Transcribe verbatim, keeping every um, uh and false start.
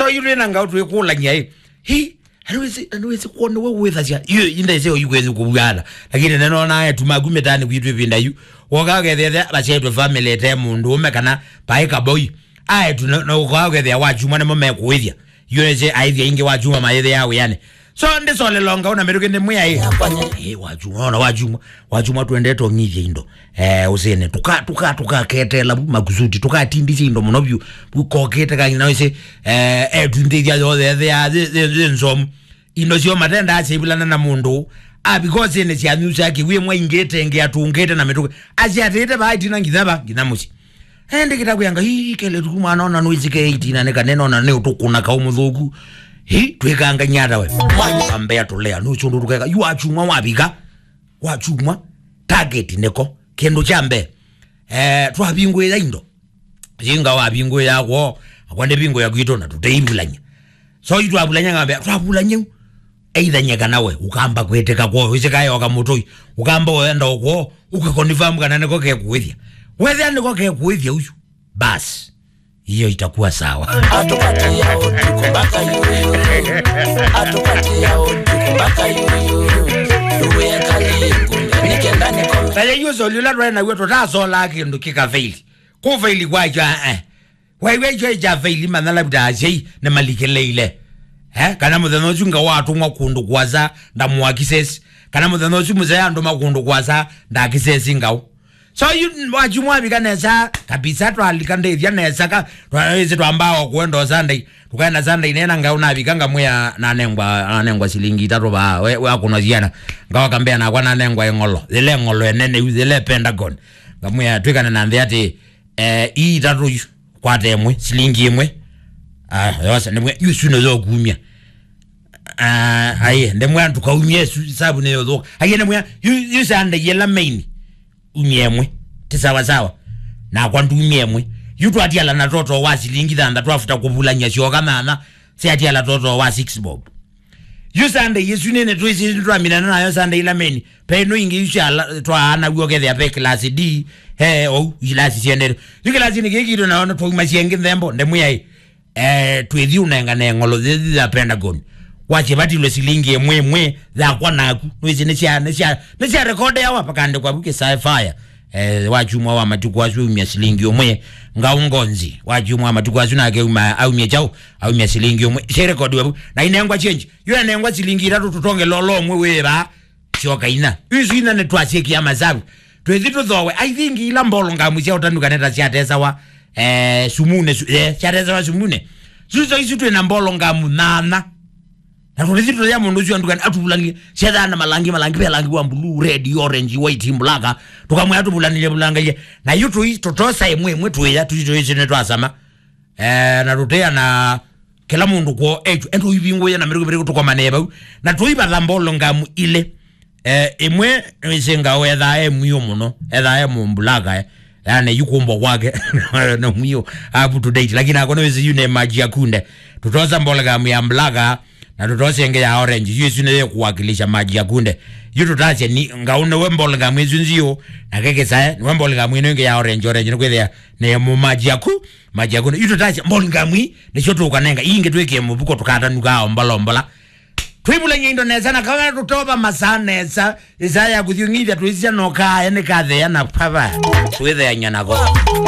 So, yu twĩ na ngaũ twĩkũlany'a ĩ. Hi, andu wĩsĩ, andu wĩsĩ kwone we wĩthasya. Yu, inde ĩseo yu kwĩsĩ kũvuana. Lakini nĩnona etu maku mĩtaanĩ kwitũ ĩvinda yu. Woka ũkethĩa vasyaĩtwe family ĩte mũndũ ũme kana paĩ kaboi. Aetu na, na ũka ũkethĩa wa kyumwa nĩmo mekũĩthya. Yu nĩsĩ aĩthya ingĩ wa kyumwa mayĩthĩaa wĩanĩ. So, ndĩsolelonga ũna mĩtũkĩ ndĩmwĩa ĩ. Ĩ, wa kyumwa, ona wa kyumwa. Wa kyumwa twendete ũng'ithya indo. Eh, ũsĩne. Tuka, tuka, tukaketela vu makusuti. Tukatindisya indo mũno vyũ. Vu kokĩte kang'ina wĩsĩ, eh, etu nthĩthya yothe ethĩaa yĩ, yĩ, yĩ nzomu. Indo syoo matendaa syaivulana na mũndũ. A, because nĩ syanyusa kĩw'ĩ mwa ingĩ tenge atũngĩte na mĩtũkĩ. Asyatĩte vaa itina nginya va, nginya mũsyĩ. Ende kĩtakwĩanga, "Ii, kele tuku mwana ona nũisike eighteen na nĩka nena ona nĩ ũtũkũna kaũ mũthũku." Hi, twĩkangany'a ata we? Ambea tũlea, nũsũndũ tũkeka, yu wa kyumwa wavika, wa kyumwa, target nĩko, kĩndũ kya mbee. Eh, twavingũĩa indo. Singa wavingũĩa kwoo, akwa ndĩvingũĩa kwitũ na tũteivulany'a. So, itwavulany'a ng'ambe, twavulany'a u. Eithany'a kana we, ũkamba kwĩtĩka kwoo, wĩsĩ kayoka mũtũi, ũkamba ũenda o kwoo, ũkakonifirm kana nĩko kekũĩthya. Wethĩa nĩko kekũĩthya ũsu, basi, hiyo itakuwa sawa. Atupatia utuku mpaka yuyu. Atupatia utuku mpaka yuyu. Tuwe kali ngunda, nikenda nikome. Taye yu soli ũla twaĩ naw'o tũtasolaa kĩndũ kĩkafaili. Kũfaili kwakyo, eh. Waiw'a icho ikyafaili manya labda asyai nĩmalikĩlĩile. Eh, kana mũthenya ũsu ngaũ atũmwa kũndũ kũasa ndamũakisesi. Kana mũthenya ũsu mũsee andũma kũndũ kũasa ndakisesi ngaũ. So, yu, wakyumwa wavika nesa, kabisa twalika ndĩthya nesa, ka, twa, ĩsĩ twambaa o kũenda o Sunday. Tũkaenda Sunday nena ngaũ navika ngamwĩa nanengwa, nanengwa silingi itatũ vaa, we, we akũnwa syana. Ngaũ akambĩa nakwa nanengwa ĩng'olo. Yĩla ĩng'olo ĩnene yu, yĩla Pentagon. Ngamwĩa twĩkane na nthĩ atĩ, eh, ii itatũ yu, kwata ĩmwe, silingi ĩmwe. Ah, yosa, nĩmwe, yu sino yokumya. Ah, aye, ndemwe antu kaumye su, sabu nĩ yothoka. Aye, ndemwe, yu, yu Sunday yela main. Umye ĩmwe. Ti sawa sawa. Nakwa ndumye ĩmwe. Yu twatiala na toto wa silingi thanthatũ afuta kũvulany'a syoka nana. Siatiala toto wa six bob. Yu Sunday ĩsu nene twĩsĩ nĩtwaminana nayo Sunday ĩla main. Pe ĩno ingĩ yu sya la, twaanaw'a ũkethĩa pe class D, he, ou, ilasi syendete. Yu class nĩ kĩkitũ nayo twauma syengĩ nthembo, ndemwĩai. Eh, twĩthi ũnengane ng'olo thĩthi ya Pentagon. Wasye vatilwe silingi ĩmwe ĩmwe, yakwa naku. Nwĩsĩ nĩ sya, nĩ sya, nĩ sya rekodeawa, pakandĩkwa vu kĩsae fire. Eh, wa kyumwa wa matukũ asu aumya silingi ũmwe, ngaũ ngonzi. Wa kyumwa wa matukũ asu nake auma, aumya kyaũ, aumya silingi ũmwe. Syarekodiwa vu. Na inengwa change. Yu enengwa silingi itatũ tũtonge lolo ũmwe wĩ vaa. Syoka ina. Isu ina nĩtwasyĩkĩa masavu. Twĩthi tũthowe. I think ila mbolongamu sya ũtanu kaneta syatesawa, eh, sumune, su, eh, syatesawa sumune. Suso isu twĩ na mbolongamu nana. Na tũlithi tũya mũndũ ũsu andukani atuvulangile. Syethana malangi, malangi, ve langi wa blue, red, orange, white, black. Tũkamwĩa tũvulanile, vulangaile. Na yu tũi, tũtosa ĩmwe ĩmwe twĩya, tũi, tũi, tũi, nĩtwasama. Eh, na tũteana kĩla mũndũ kwoo etu, endo ivingũya na mĩtũkĩ mĩtũkĩ tũkomanee vau. Na tũivatha mbolongamu ilĩ. Eh, ĩmwe nĩwĩsĩ ngaũ ethaa e mwio mũno, ethaa e mũmbulaka, eh. Yani, yu kũmbwa kwake, na mwio, up to date. Lakini akwa nĩwĩsĩ yu nĩ maji ya kunde. Tũtosa mbolongamu ya mbulaka, na tũtosa ĩngĩ ya orange. Yu ĩsu nĩyo ĩkũwakilisha maji ya kunde. Yu tũtasya ni, ngaũ nĩwe mbolongamu ĩsu nziũ, na kekĩsae, nĩwe mbolongamu ĩno ĩngĩ ya orange, orange, nĩkwĩthĩa nĩ mu maji ya ku, maji ya kunde. Yu tũtasya mbolongamu ii, nĩsyo tũkanenga. Ii ingĩ twĩkĩe mũvuko tũkatanuka ombola, ombola. Twĩvulany'a indo nesa na kawĩa tũtova masaa nesa. Ĩsaa ya kũthiũng'ithya twĩsisya no kaaya nĩkatheea na pava. Twĩtheany'a nako.